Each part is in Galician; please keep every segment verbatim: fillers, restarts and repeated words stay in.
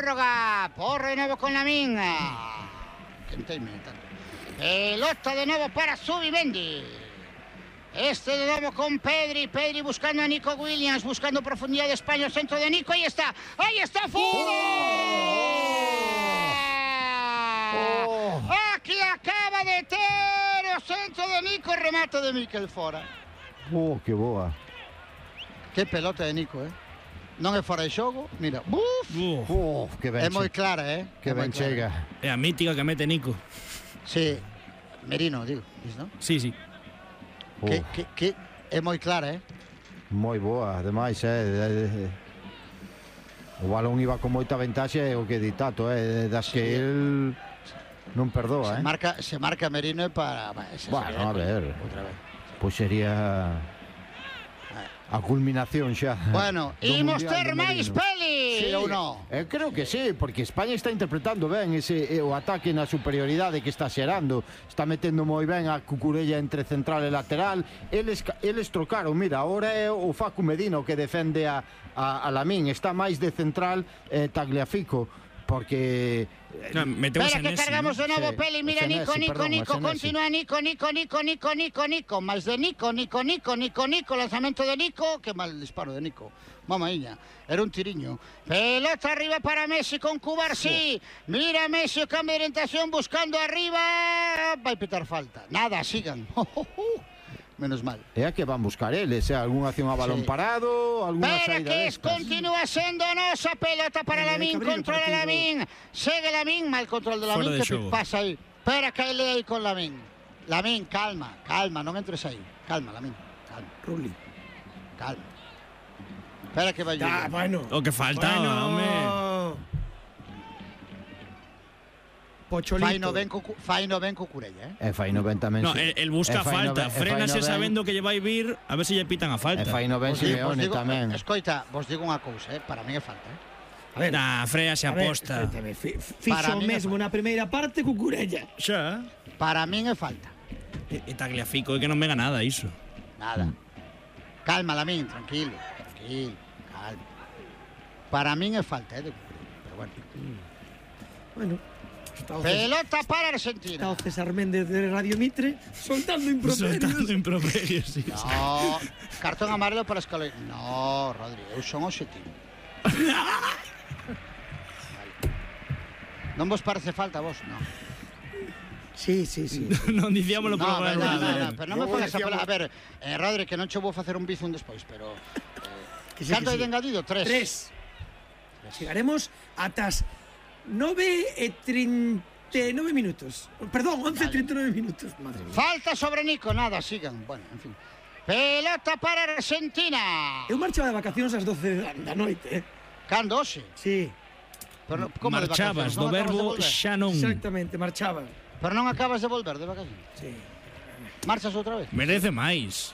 prórroga. Porro de nuevo con Lamín. Pelota de nuevo para Zubimendi. Este de nuevo con Pedri. Pedri buscando a Nico Williams. Buscando profundidad de España. Centro de Nico. Ahí está. Ahí está. ¡Fuera! Oh. Oh. Aquí acaba de ter o centro de Nico. Remate de Miquel fora. Oh, que boa. Que pelota de Nico, eh? Non é fora de xogo, mira. Uf, Uf, Uf que ben é moi clara, eh? Que ben chega. É a mítica que mete Nico. Sí, Merino, digo, non? Sí, sí. Que, que, que é moi clara, eh? Moi boa, ademais, eh? O balón iba con moita ventaxe, o que di Tato, eh? Das que el non perdoa, se eh? Marca, se marca Merino para... Bueno, a ver, pois sería... a culminación xa. Bueno, imos ter máis peli, sí, ou non? Eh, creo que sí, porque España está interpretando ben ese eh, o ataque na superioridade que está xerando. Está metendo moi ben a Cucurella entre central e lateral. Eles, eles trocaron, mira, ahora é o Facu Medina que defende a, a, a Lamín. Está máis de central eh, Tagliafico, porque... No, Espera que cargamos de novo, sí, Peli, mira, Nico, Nico, perdón, Nico, continúa Nico, Nico, Nico, Nico, Nico, Nico, máis de Nico, Nico, Nico, Nico, Nico, lanzamento de Nico, que mal disparo de Nico, mamaíña, era un tiriño, pelota arriba para Messi con Cubarsí, mira Messi o cambio de orientación buscando arriba, vai pitar falta, nada, sigan, menos mal. É a que van buscar eles, é algunha acción a balón sí. parado, algunha Pero saída que destas. Continúa sendo nosa pelota para eh, Lamín, controla Lamín, segue Lamín, mal control de Lamín, que show. Pasa aí. Espera que ele aí con Lamín. Lamín, calma, calma, non entres aí. Calma, Lamín, calma. Rulli. Calma. Espera que vai ah, bueno. O que faltaba, bueno. Home. Pocholito. Fai no ben co, fai no ben co Curella, eh? E fai no ben tamén. No, el, el busca falta, frénase sabendo que lle vai vir, a ver se lle pitan a falta. E fai no ben Simeone tamén. Escoita, vos digo unha cousa, eh? Para mí é falta, eh? A ver, nah, Freya se aposta. Fixo mesmo na primeira parte co Curella. Xa. Para min é falta. E, e Tagliafico, é que non venga nada iso. Nada. Mm. Calma, Lamín, tranquilo, tranquilo, calma. Para min é falta, eh? Pero bueno. Mm. Bueno. Pelota para Argentina. Está o César Méndez de Radio Mitre soltando improperios. Soltando improperios, sí. No, cartón amarelo para Escalón. No, Rodri, eu son objetivo. Vale. Non vos parece falta a vos? No. Sí, sí, sí. Non dicíamolo no, por no, no, no, pero non me fagas a palabra. A ver, eh, Rodri, que non che vou facer un bizum despois, pero... Eh, canto hai de engadido? Tres. Tres. Chegaremos atas nove e trinta e nove minutos. Perdón, once e trinta e nove minutos. Madre mía. Falta sobre Nico, nada, sigan. Bueno, en fin. Pelota para Argentina. Eu marchaba de vacacións ás doce da noite, eh? Cando, hoxe? Sí. Pero, como marchabas, do verbo xa non. Exactamente, marchaba. Pero non acabas de volver de vacacións? Sí. Marchas outra vez? Merece máis.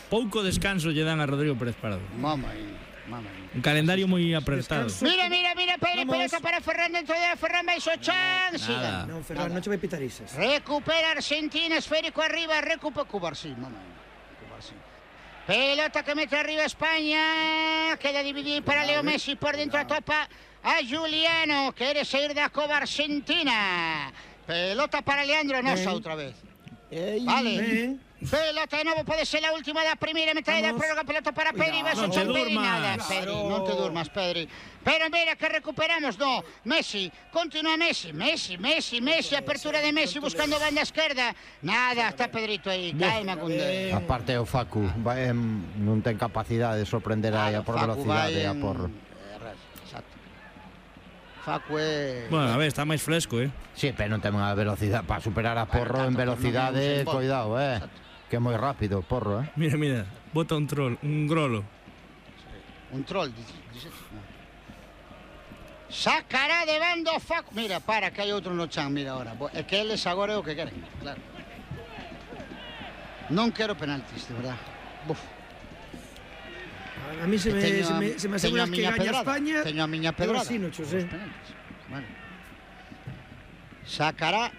Pouco descanso lle dan a Rodrigo Pérez Parado. Mama aí. Un calendario moi apretado. Mira, mira, mira, Pedri, pelota para Ferran dentro de Ferran vai so chan. Siga. Non, Ferran, non che vai pitar isas. Recupera Argentina, esférico arriba, recupera Cubarsí, mamá. Cubarsí. Pelota que mete arriba España, queda dividir para Leo Messi por dentro a topa a Juliano, quere sair da cova Argentina. Pelota para Leandro Nosa outra vez. Vale. Ben. Pelota de novo, pode ser a última da primeira metade da prórroga, pelota para Pedri, vai non son te Pedri, nada, Pedri, non te durmas, Pedri. Pero mira que recuperamos, no, Messi, continúa Messi, Messi, Messi, Messi, apertura de Messi buscando banda esquerda, nada, está Pedrito aí, calma, Cundé. A parte o Facu, vai, non ten capacidade de sorprender aí a por velocidade, a por... Facu é... Bueno, a ver, está máis fresco, eh? Sí, pero non ten a velocidade para superar a Porro en velocidade, cuidado, eh? Que é moi rápido, Porro, eh? Mira, mira, bota un troll, un grolo. Un troll, dice. Sacará de bando Facu. Mira, para, que hai outro no chan, mira agora. É que eles agora é o que queren, claro. Non quero penaltis, de verdad. Buf. A mí se me, se me, se me asegura que gaña España. Teño a miña pedrada. Sí, no, José. Bueno. Sacará.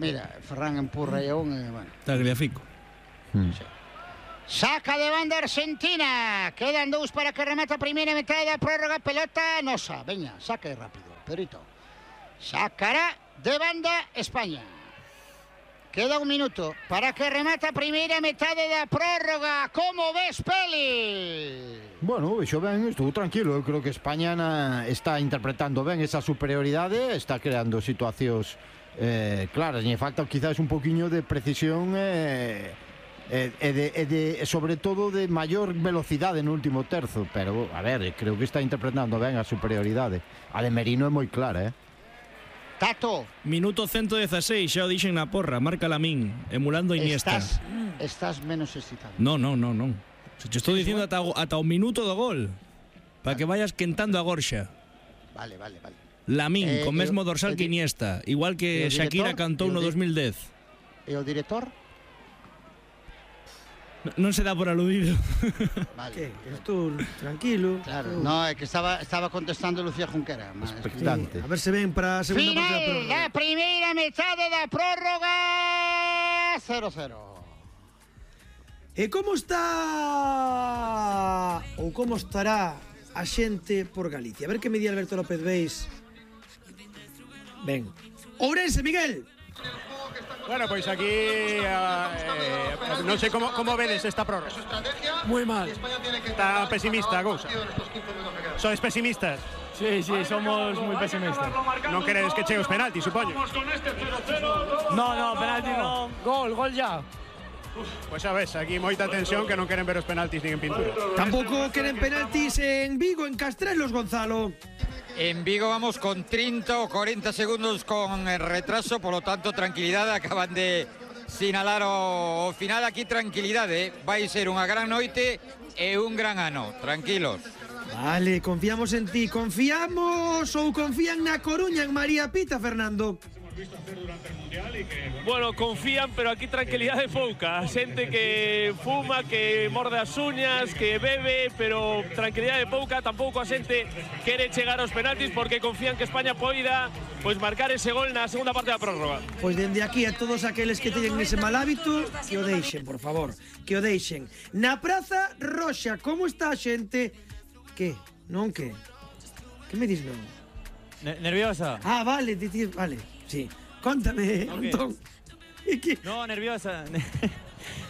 Mira, Ferran empurra e un, e, bueno. Tagliafico. Hmm. Sí. Saca de banda Argentina. Quedan dous para que remata a primeira metade da prórroga. Pelota Nosa. Veña, saca rápido. Pedrito. Sacará de banda España. Queda un minuto para que remata a primeira metade da prórroga. Como ves, Peli? Bueno, vexo ben, estou tranquilo. Eu creo que España na, está interpretando ben esa superioridade, está creando situacións eh, claras. Lle falta quizás un poquinho de precisión e eh, eh, de, eh, de, sobre todo de maior velocidade no último terzo. Pero, a ver, creo que está interpretando ben a superioridade. A de Merino é moi clara, eh? Tato. Minuto ciento dieciséis, xa o dixen na porra, marca Lamín, emulando a Iniesta. Estás, estás menos excitado. No, no, no, no. Se te estou dicindo ata, ata o minuto do gol, para que vayas quentando a gorxa. Vale, vale, vale. Lamín, Eh, con mesmo eu- dorsal eu que di- Iniesta, igual eu que director, Shakira cantou eu no di- dos mil dez. E o director? Non se dá por aludido. Vale. Que? Estou tranquilo. Claro, Estou- no, é que estaba, estaba contestando Lucía Junquera. mas- Expectante. A ver se ven para a segunda parte da Final prórroga. da primeira metade da prórroga. cero cero. E como está ou como estará a xente por Galicia? A ver que me di Alberto López Beis. Ben. Ourense, Miguel. Bueno, pois aquí eh, eh, non sei como, como vedes esta prórroga. Muy mal. Está pesimista a cousa. Sois pesimistas. Sí, sí, somos muy pesimistas. Non queredes que chegue os penaltis, supoño. No, no, penalti no. Gol, gol ya. Pois xa ves, aquí moita tensión que non queren ver os penaltis nin en pintura. Tampouco queren penaltis en Vigo, en Castrelos, Gonzalo. En Vigo vamos con treinta o cuarenta segundos con retraso, por lo tanto tranquilidade, acaban de sinalar o, o final aquí, tranquilidade, vai ser unha gran noite e un gran ano, tranquilos. Vale, confiamos en ti. Confiamos ou confían na Coruña, en María Pita, Fernando? Bueno, confían, pero aquí tranquilidad de pouca. Xente que fuma, que morde as uñas, que bebe, pero tranquilidad de pouca. Tampouco a xente quere chegar aos penaltis porque confían que España poida pois marcar ese gol na segunda parte da prórroga. Pois dende aquí a todos aqueles que teñen ese mal hábito, que o deixen, por favor, que o deixen. Na Praza Roxa, como está a xente? Que? Non que? Que me dis non? Nerviosa. Ah, vale, ti, ti, vale, sí. Contame, Ok. Antón. E que? No, nerviosa.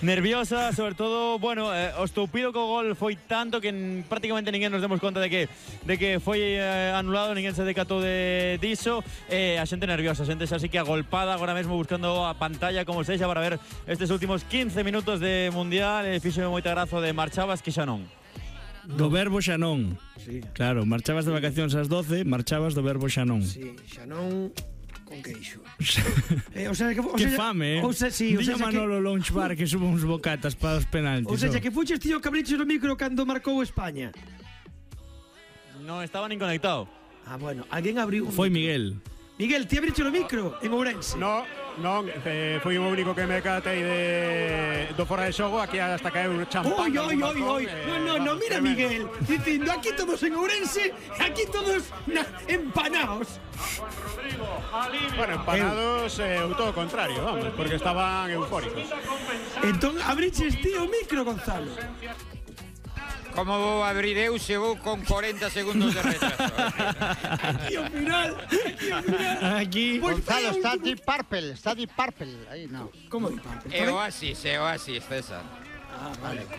Nerviosa, sobre todo, bueno, eh, o estoupido co gol foi tanto que n- prácticamente ninguén nos demos conta de que de que foi eh, anulado, ninguén se decatou de diso, e eh, a xente nerviosa, a xente xa así que agolpada agora mesmo buscando a pantalla como sexa para ver estes últimos quince minutos de Mundial, e fíxome moita graza de marchabas que xa non. Do verbo xa non. Sí. Claro, marchabas de vacacións ás doce, marchabas do verbo xa non. Sí, xa non con queixo. eh, o sea, que, o Que sea, fame, eh? O sea, sí, o Dille sea, a Manolo Lounge Bar que suba uns bocatas para os penaltis. O sea, oh. que fuches tío cabriches no micro cando marcou España. Non estaba nin conectado. Ah, bueno, alguén abriu. Foi Miguel. Miguel, ti abriche o micro en Ourense. No, non, eh, fui o único que me catei de do fora de xogo, aquí hasta caeu un champán. Oi, oi, oi, oi. No, no, no, mira Miguel, dicindo aquí todos en Ourense, aquí todos na, empanaos. Bueno, empanados, eh, o todo o contrario, vamos, porque estaban eufóricos. Entón abriches ti o micro, Gonzalo. Como vou abrir eu se vou con cuarenta segundos de retraso? Aquí ao final, aquí ao final. Aquí. Pois Gonzalo, vai, está último- Deep Purple, está Deep Purple. Aí, no. Como di Pablo? É Oasis, é Oasis, César. Ah, vale.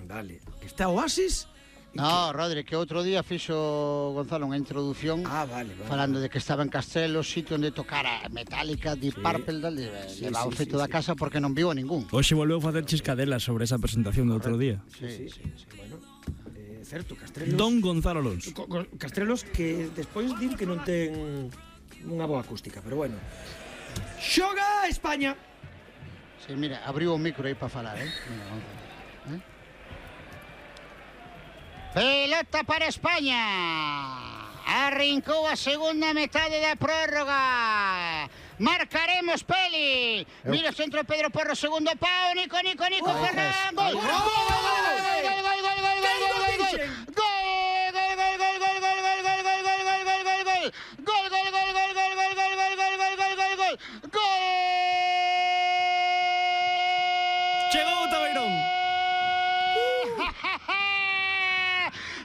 Vale. Está Oasis? No, Rodri, que outro día fixo Gonzalo unha introducción Ah, vale, vale. falando de que estaba en Castelo, sitio onde tocara Metallica, Deep Purple, dale, Sí, levaba o sí, feito sí, da sí. casa porque non viu a ningún. Hoxe volveu a facer chiscadelas sobre esa presentación do outro día. Sí, sí, sí, bueno. Eh, certo, Castrelos. Don Gonzalo Alonso. Co- co- Castrelos que despois din que non ten unha boa acústica, pero bueno. Xoga España. Sí, mira, abriu o micro aí para falar, eh? Mira, Gonzalo. ¿Eh? Pelota para España. Arrincou a segunda metade da prórroga. Marcaremos, Peli. Mira o centro de Pedro Porro, segundo pau. Nico, Nico, Nico, Ferran. Gol, gol, gol, gol, gol, gol, gol, gol, gol, gol, gol, gol, gol. Gol, gol, gol, gol, gol, gol, gol, gol, gol, gol, gol, gol, gol, gol, gol. Gol, gol, gol, gol, gol, gol, gol, gol, gol, gol, gol, gol, gol. Gol. Chegou o Tabeirón.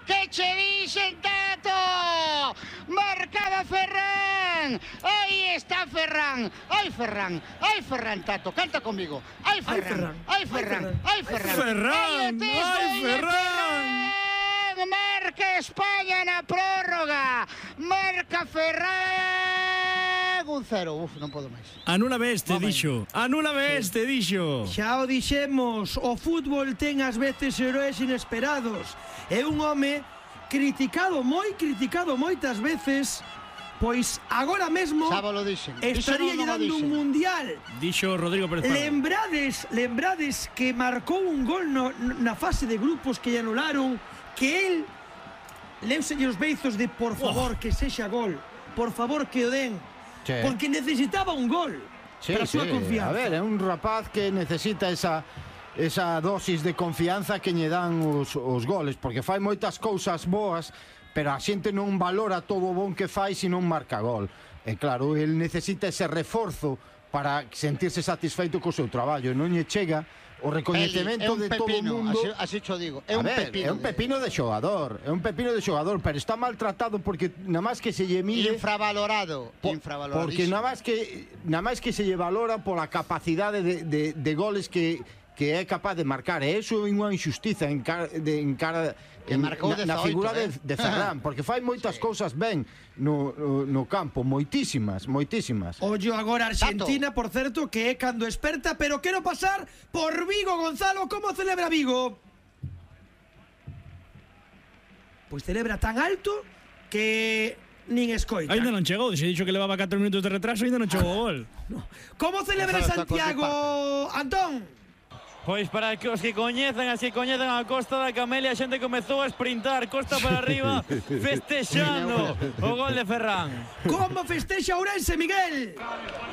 Que che dixen, Tato? Marca estaba Ferran! Aí está Ferran! Ai, Ferran! Ai, Ferran, Tato, canta conmigo. Ai, Ferran! Ai, Ferran! Ai, Ferran! Ferran! Ai, Ferran! Marca España na prórroga! Marca Ferran! Un cero. Uf, non podo máis. Anúlame este, dixo. Anúlame este, dixo. Xa o dixemos, o fútbol ten ás veces heróis inesperados. É un home criticado, moi criticado moitas veces, pois agora mesmo Xa vos lo dixen. estaría Iso non o dando un dixen. mundial. Dixo Rodrigo Pérez Pardo. Lembrades, lembrades que marcou un gol no, na fase de grupos que lle anularon, que el leuselle os beizos de por favor que sexa gol, por favor que o den, Sí. porque necesitaba un gol Sí, para a súa sí. confianza. A ver, é un rapaz que necesita esa esa dosis de confianza que lle dan os, os goles, porque fai moitas cousas boas, pero a xente non valora todo o bon que fai se non marca gol. E claro, el necesita ese reforzo para sentirse satisfeito co seu traballo, non lle chega o recoñecemento de todo o mundo. Así, así cho digo. É A un ver, pepino. é un pepino de xogador, é un pepino de xogador, pero está maltratado porque nada máis que se lle mide Infravalorado. po- Infravalorado. porque nada máis que nada máis que se lle valora pola capacidade de, de, de goles que que é capaz de marcar, e iso é unha injustiza en cara, de, en cara Que en, marcou na, na dezaoito, figura eh? de, de Ferran, porque fai moitas cousas ben no, no, no campo, moitísimas, moitísimas. Ollo agora Argentina, por certo, que é cando experta, pero quero pasar por Vigo, Gonzalo. Como celebra Vigo? Pois celebra tan alto que nin escoita. Ainda non chegou, se dixo que levaba catro minutos de retraso, ainda non chegou o gol. Como celebra Gonzalo está con Santiago, Antón? Pois para que os que coñezan, as que coñezan a Costa da Camelia, a xente comezou a sprintar costa para arriba, festexando o gol de Ferran. Como festexa Ourense, Miguel?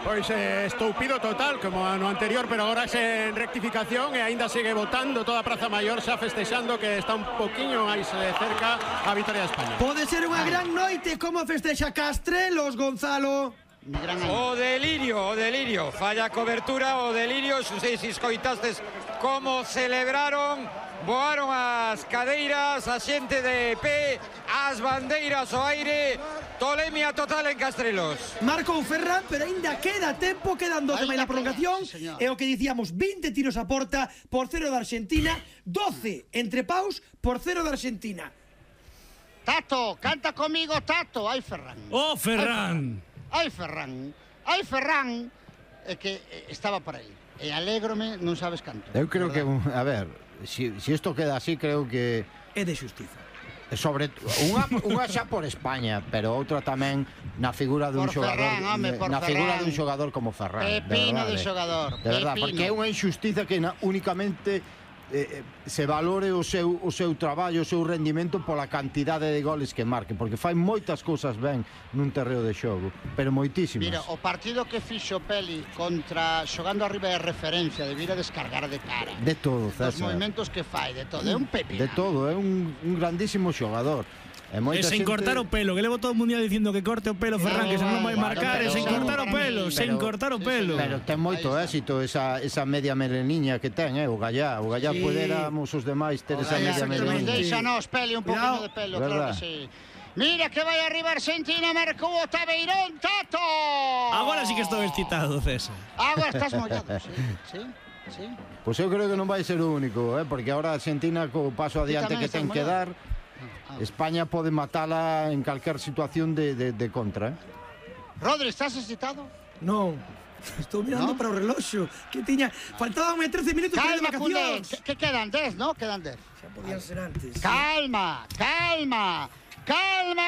Pois eh, estoupido total, como no anterior, pero agora en rectificación e aínda sigue votando toda a Praza Maior, xa festexando que está un poquinho máis eh, cerca a vitória de España. Pode ser unha gran noite. Como festexa Castrelos, Gonzalo? Mi gran año. O delirio, o delirio, falla a cobertura, o delirio, non sei se escoitastes como celebraron, voaron as cadeiras, a xente de pé, as bandeiras ao aire, tolemia total en Castrelos. Marcou Ferran, pero aínda queda tempo, quedan doce máis Aínda na prolongación. queda, sí, señor. É o que dicíamos, vinte tiros a porta por cero da Argentina, doce entre paus por cero da Argentina. Tato, canta comigo, Tato. Ai, Ferran. Oh, Ferran! Ai, Ferran. Ai, Ferran. É que eh, estaba por aí. E alégrome, non sabes canto. Eu creo que, verdad? a ver, si, si isto queda así, creo que É de xustiza. sobre unha, unha xa por España, pero outra tamén na figura dun Por xogador, Ferran, home, por na figura Ferran. dun xogador como Ferran, Pepino de, verdade, de xogador, De verdad, pepino. porque é unha injustiza que na, únicamente eh, se valore o seu o seu traballo, o seu rendimento pola cantidade de goles que marque, porque fai moitas cousas ben nun terreo de xogo, pero moitísimas. Mira, o partido que fixo Peli contra xogando arriba de referencia, debira descargar de cara. De todo, Os César. movimentos que fai, de todo. É un pepino. De todo, é un, un grandísimo xogador. E E moita sen xente- cortar o pelo, que levo todo o mundial dicindo que corte o pelo, Ferran, que se non vai Bueno, marcar, e pero- sen cortar o pelo, sen pero- cortar o sí, pelo. Pero ten moito Aí está. éxito esa, esa media meleniña que ten, eh, o Gallá. O Gallá Sí. poderamos os demais ter esa Ojalá, media que nos meleniña. deixanos, Peli, un poquinho Cuidado. de pelo, Verdad. claro que sí. Mira que vai arriba Argentina, marcou o Tabeirón, Tato. Agora sí que estou excitado, César. Agora estás mollado, sí, sí, sí. Pois eu creo que non vai ser o único, eh, porque agora Argentina co paso adiante tamén que estás ten que mollado. dar, España pode matala en calquer situación de, de, de contra, eh. Rodri, estás excitado? Non. Estou mirando ¿No? para o reloxo que tiña, faltaban trece minutos para as Calma, culé. vacacións. Que, que quedan dez, ¿no? Quedan dez. Xa podían ser antes. Calma, calma, calma,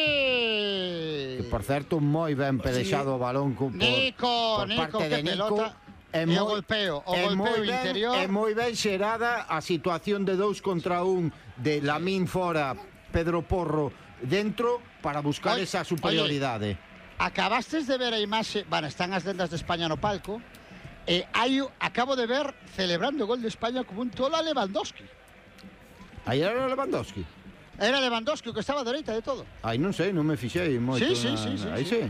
Peli. Que por certo moi ben pelexado o balón co, por, Nico, por Nico, parte que de Nico. pelota. É E o moi- golpeo, o é golpeo moi ben- interior. É moi ben xerada a situación de dous contra un de Lamín fora, Pedro Porro dentro para buscar Oye, esa superioridade. Acabastes de ver a imaxe, bueno, están as lendas de España no palco, e hai, o- acabo de ver celebrando o gol de España como un tolo a Lewandowski. Aí era Lewandowski. Era Lewandowski o que estaba a dereita de todo. Aí non sei, non me fixei moito. Sí, sí, na- sí, sí, aí sí. sí.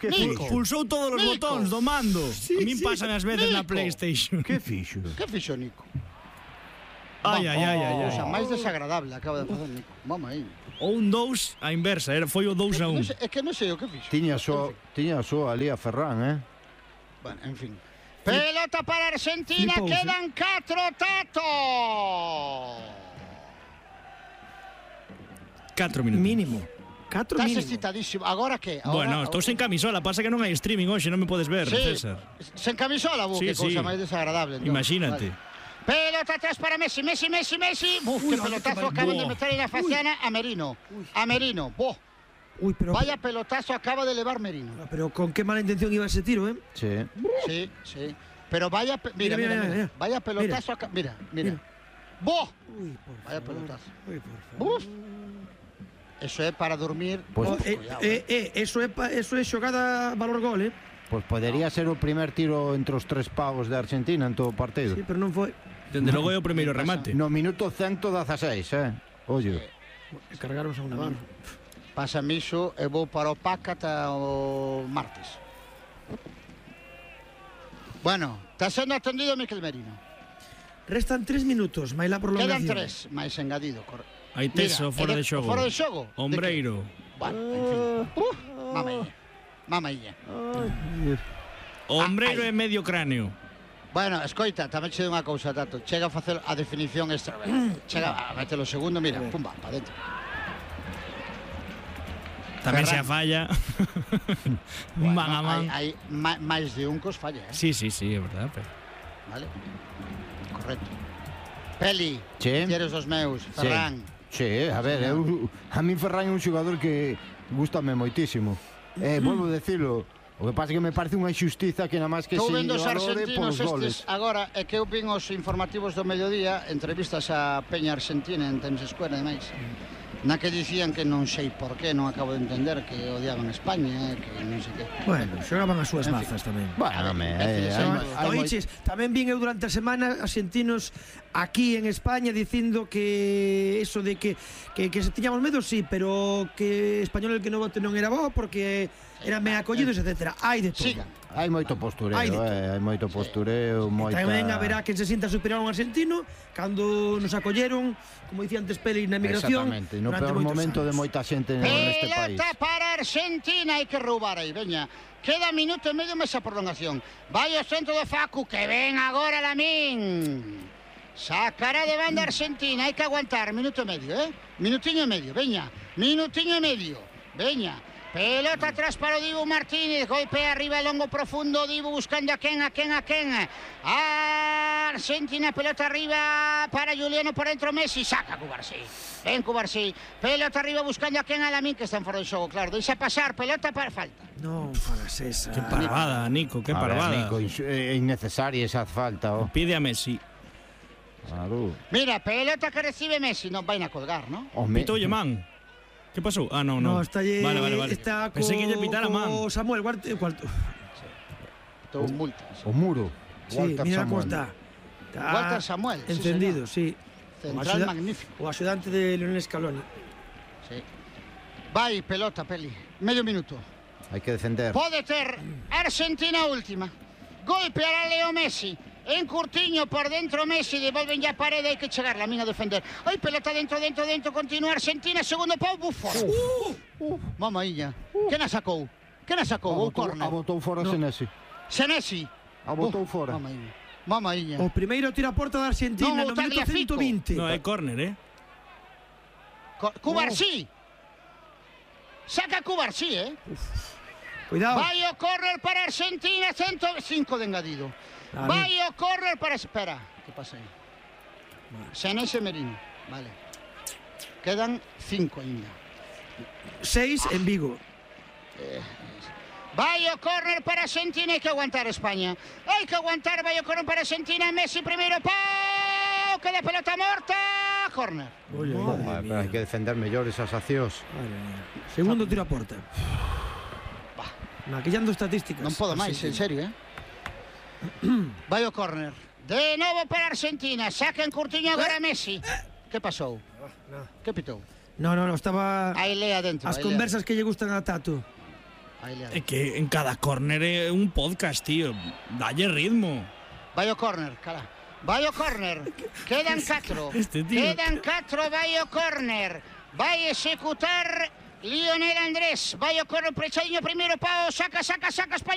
Que Nico. fixo? Pulsou todos os Nico. botóns do mando. A min pasan as veces na Nico. PlayStation. Que fixo? Que fixo Nico? Ai, ai, ai, ai, O sea, ai. máis desagradable acaba de facer Nico. Vamos aí. Ou un dous a inversa, era foi o dous a un. Non sei- É que non sei o que fixo. Tiña só, En fin. tiña só ali a Ferran, eh? Bueno, en fin. Pelota para Argentina, Flipouse. quedan catro, Tato. catro minutos. Mínimo. Catro Estás mínimo. excitadísimo. Agora que? Agora, Bueno, estou sen camisola, pasa que non hai streaming hoxe, non me podes ver, Sí, César. sen camisola, bu, Sí, que cousa sí. máis desagradable. entón. Imagínate. Vale. Pelota atrás para Messi, Messi, Messi, Messi. Uf, Uy, qué ay, pelotazo qué mal- acaban de Buah. meter en la faciana a Merino. A Merino, boh. Uy, pero, Vaya pelotazo acaba de elevar Merino. pero con qué mala intención iba ese tiro, ¿eh? Sí. Sí, sí. Pero vaya, pe- mira, Mira, mira, mira, mira. mira. Vaya pelotazo acá, mira, mira. Mira. ¡Boh! Uy, por Vaya favor. pelotazo. Uy, por favor. Uf. Eso es para dormir. Pues- Oh, Uf, eh, cuidado, eh, eh, eso é pa- eso é xogada valor gol, eh? Pois podería ser o primer tiro entre os tres pavos de Argentina en todo o partido. Sí, pero non foi. Dende logo é o primeiro remate. No minuto ciento dieciséis, eh? Ollo. Cargaron a un Navarro. Pásame iso e vou para o P A C ata o martes. Bueno, está sendo atendido Miquel Merino. Restan tres minutos, máis la prolongación. Quedan tres, máis engadido. Cor... Aí teso, Mira, fora é de xogo. Fora de xogo? De Ombreiro. que? Bueno, en fin. Uh, mamailla. Mamailla. O ombreiro Ah, é medio cráneo. Bueno, escoita, tamén che digo unha cousa, Tato. Chega a facer a definición extra. Chega a meter o segundo, mira, pumba, para dentro. Tamén se a Ferran. falla. Bueno, Man a man. Hai, hai ma- máis de un cos falla, eh? Sí, sí, sí, é verdad. Pero... Vale? Correcto. Peli, Sí. queres os meus, Ferran. Sí, a ver, eu, a min Ferran é un xogador que gustame moitísimo. Eh, volvo a decirlo, o que pasa é que me parece unha injustiza que nada máis que Estou se vendo os valore argentinos polos goles. estes agora, é que eu vin os informativos do mediodía, entrevistas a Peña Argentina en Times Square e demais, na que dicían que non sei por qué, non acabo de entender, que odiaban a España, que non sei que. Bueno, xogaban as súas En fin. mazas tamén. Bueno, me, eh, Sí, hai, sí, hai moi- Oiches, tamén vin eu durante a semana argentinos aquí en España dicindo que eso de que, que, que se tiñamos medo, sí, pero que español el que non vote non era bo porque eran ben acollidos, etcétera. Hai de todo. Sigan. hai moito postureo, Hai de todo. eh, hai moito postureo, moita... Tamén haberá quen se sinta superior a un argentino cando nos acolleron, como dicía antes Peli, na emigración. Exactamente, no durante peor moitos momento de anos. moita xente neste país. Pelota para Argentina, hai que roubar aí, veña. Queda minuto e medio máis a prolongación. Vai o centro do Facu, que ven agora Lamín. Sacará de banda Argentina, hai que aguantar, minuto e medio, eh? Minutiño e medio, veña. Minutiño e medio, veña. Pelota atrás para o Dibu Martínez, golpea arriba, longo profundo, Dibu buscando a quen, a quen, a quen. Argentina, pelota arriba para Juliano, por dentro Messi, saca Cubarsí. Ven Cubarsí, pelota arriba buscando a quen, a Lamín, que están fora de xogo, claro. Deixa pasar, pelota para falta. Non fagas esa. Qué parvada, Nico, qué A ver, parvada. Nico, insu- é innecesaria esa falta, oh. Pide a Messi. Claro. Mira, pelota que recibe Messi, non vai a colgar, ¿no? Home, Pitoulle man. Que pasou? Ah, non, non. No, está lle, Vale, vale, vale. está Pensei que lle co- pitara man. co Samuel, cuarto, cuarto. Estou multas. o muro. Sí, Walter mira Samuel. como está. Está Walter Samuel, sí, encendido, señor. sí. Central axuda- magnífico. O axudante de Lionel Scaloni. Sí. Vai, pelota, Peli. Medio minuto. Hai que defender. Pode ter Argentina última. Golpeará Leo Messi. En Curtiño por dentro Messi, devolven ya parede, hai que chegar la mina a defender. Ai, pelota dentro, dentro, dentro, continúa Argentina, segundo pau, Buffon. Uh, uh, mamailla. Que na sacou? Que na A sacou? Ou botou, corner? a botou fora No. Senesi. Senesi. A botou fora. Mamailla. Mamailla. O primeiro tira a porta da Argentina Non, no o minuto Tagliafico. ciento vinte. No, é córner, eh? Co- Cubarsí. Saca Cubarsí, eh? Cuidado. Vai o correr para Argentina, ciento cinco de engadido. Dale. Vai o correr para... Espera, que pasa aí? Senesi e Merino, vale. Quedan cinco ainda. Seis en Vigo. Vai o corner para Argentina, hai que aguantar España. Hai que aguantar, vai o corner para Argentina, Messi primeiro, pau, queda pelota morta, corner. Oye, Joder, madre pero hai mía. que defender mellor esas accións. Madre mía. Segundo tiro a porta. Maquillando estadísticas. Non podo máis, en serio, eh? Vai o corner. De novo para Argentina, saca en Curtiño agora Messi. Que pasou? Que pitou? No, no, no, estaba Aí lea dentro. as aí lea. conversas que lle gustan a Tato. Ahí le ha É que en cada córner é un podcast, tío. Dalle ritmo. Vai o córner, cara. Vai o córner. Quedan catro. Este tío. Quedan catro, vai o córner. Vai executar Lionel Andrés. Vai o córner prechadiño primeiro pao. Saca, saca, saca España.